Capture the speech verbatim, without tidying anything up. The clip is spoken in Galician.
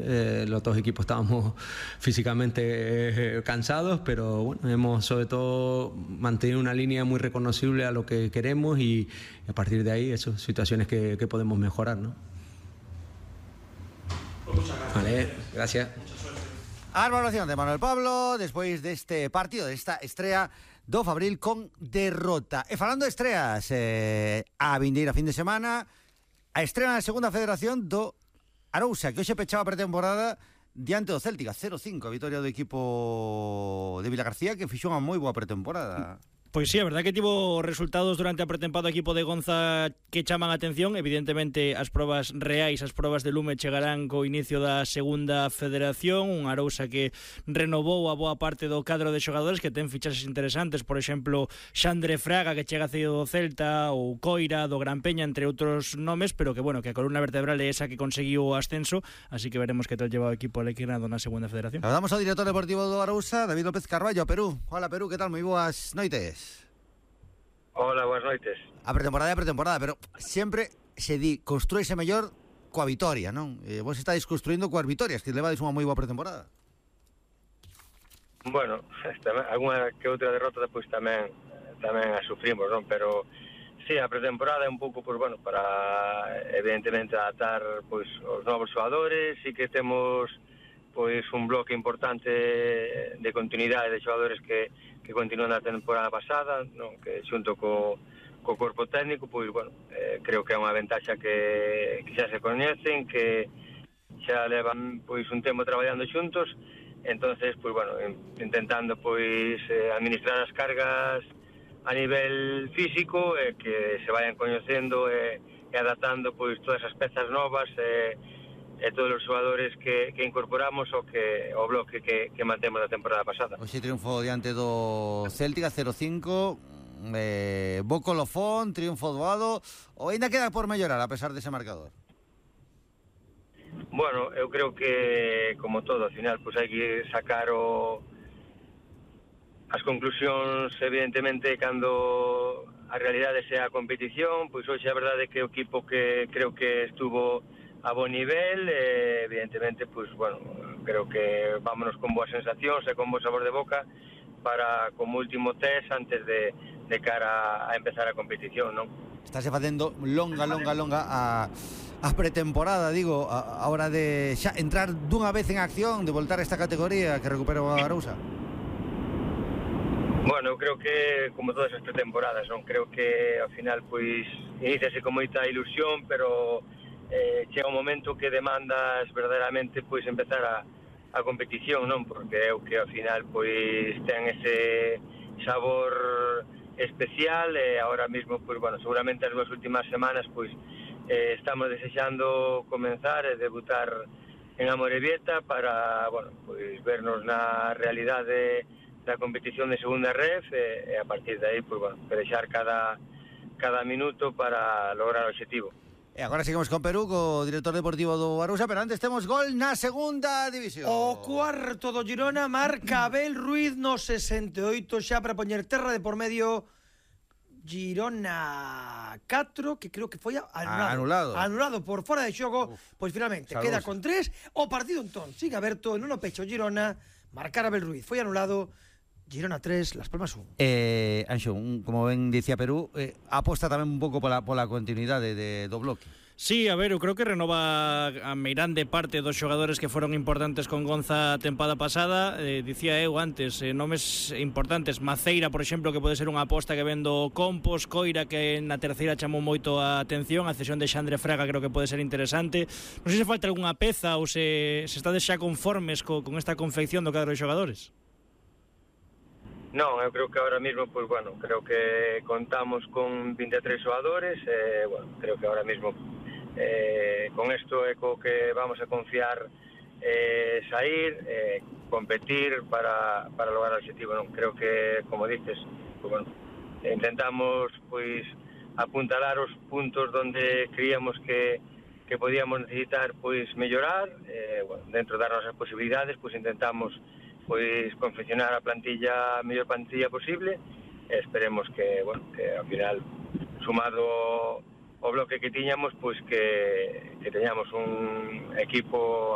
eh, los dos equipos estábamos físicamente eh, cansados, pero bueno, hemos sobre todo mantenido una línea muy reconocible a lo que queremos y a partir de ahí, eso, situaciones que, que podemos mejorar, ¿no? Vale, gracias. A valoración de Manuel Pablo despois deste partido, desta estrea do Fabril con derrota. E falando de estreas, eh, a vindeira fin de semana, a estrela na segunda federación do Arousa, que hoxe pechaba a pretemporada diante do Céltica, cero cinco, a vitoria do equipo de Vilagarcía, que fixou unha moi boa pretemporada. Pois sí, a verdad que tivo resultados durante a pretempada do equipo de Gonza que chaman a atención. Evidentemente as probas reais, as probas de lume chegarán co inicio da segunda federación. Un Arousa que renovou a boa parte do cadro de xogadores, que ten fichaxes interesantes, por exemplo Xandre Fraga, que chega cedido do Celta, ou Coira do Gran Peña, entre outros nomes, pero que bueno, que a columna vertebral é esa que conseguiu o ascenso, así que veremos que tal lleva o equipo alequinado na segunda federación. Hablamos ao director deportivo do Arousa, David López Carballo, a Perú. Hola Perú, que tal? Moi boas noites. Hola, buenas noites. A pretemporada é a pretemporada, pero sempre se di construíse mellor coa vitoria, non? E vos estáis construindo coas vitorias, que levades unha moi boa pretemporada. Bueno, alguna que outra derrota depois tamén tamén a sufrimos, non? Pero sí, a pretemporada é un pouco, pois, bueno, para evidentemente adaptar pois os novos xogadores, e que temos pois un bloque importante de continuidade de xogadores que que continúan na temporada pasada, non, que xunto co, co corpo técnico, pois, bueno, eh, creo que é unha ventaxa que, que xa se coñecen, que xa levan, pois, un tempo traballando xuntos, entonces, pois, bueno, intentando, pois, eh, administrar as cargas a nivel físico, e eh, que se vayan coñecendo e eh, adaptando, pois, todas as pezas novas, e eh, e todos os xogadores que, que incorporamos o que o bloque que, que mantemos da temporada pasada. Hoxe triunfo diante do Céltica cero cinco, eh, bo colofón, triunfo doado, ou ainda queda por mellorar a pesar dese marcador? Bueno, eu creo que como todo, ao final, pois hai que sacar o as conclusións evidentemente cando a realidade sea a competición. Pois hoxe a verdade é que o equipo que creo que estuvo a bon nivel, eh, evidentemente, pues, bueno, creo que vámonos con boas sensacións e con bo sabor de boca para como último test antes de, de cara a empezar a competición, non? Estáse facendo longa, longa, longa a, a pretemporada, digo, a, a hora de xa entrar dunha vez en acción, de voltar a esta categoría que recupera o Arousa. Bueno, eu creo que como todas as pretemporadas, non? Creo que ao final, pois, iniciase con moita ilusión, pero Eh, chega un momento que demandas verdadeiramente pois empezar a, a competición, non? Porque é o que ao final pois ten ese sabor especial, e agora mesmo pois bueno, seguramente as dúas últimas semanas pois eh, estamos desexando comenzar e debutar en Amorebieta para, bueno, pois vernos na realidade da competición de segunda ref, e, e a partir de aí pois bueno, pelexar cada cada minuto para lograr o obxectivo. E agora seguimos con Perú, co director deportivo do Arousa, pero antes temos gol na segunda división. O cuarto do Girona marca Abel Ruiz no sesenta e oito, xa para poñer terra de por medio. Girona catro, que creo que foi anulado. Anulado. Anulado por fora de xogo. Uf, pois finalmente saludos. Queda con tres. O partido entón sigue aberto, non o pecho Girona, marcar Abel Ruiz. Foi anulado. Girona tres, Las Palmas un. Eh, Anxo, un, como ben dicía Perú, eh, aposta tamén un pouco pola, pola continuidade de, do bloque. Sí, a ver, eu creo que renova a meirande parte dos xogadores que foron importantes con Gonza a tempada pasada. Eh, dicía eu antes, eh, nomes importantes, Maceira, por exemplo, que pode ser unha aposta que vendo Compos, Coira, que na terceira chamou moito a atención, a cesión de Xandre Fraga creo que pode ser interesante. Non sei se falta algunha peza ou se, se estades xa conformes co, con esta confección do cadro de xogadores. Non, eu creo que ahora mismo, pues bueno, creo que contamos con vinte e tres xogadores, eh, bueno, creo que ahora mismo eh, con isto é co que vamos a confiar, eh, sair, eh, competir para, para lograr o objetivo, non? Creo que, como dices, pues bueno, intentamos, pois, apuntalar os puntos donde creíamos que, que podíamos necesitar, pois, mellorar, eh, bueno, dentro das nosas posibilidades, pois intentamos pois confeccionar a plantilla, a mellor plantilla posible, e esperemos que, bueno, que ao final, sumado o bloque que tiñamos, pois que, que teñamos un equipo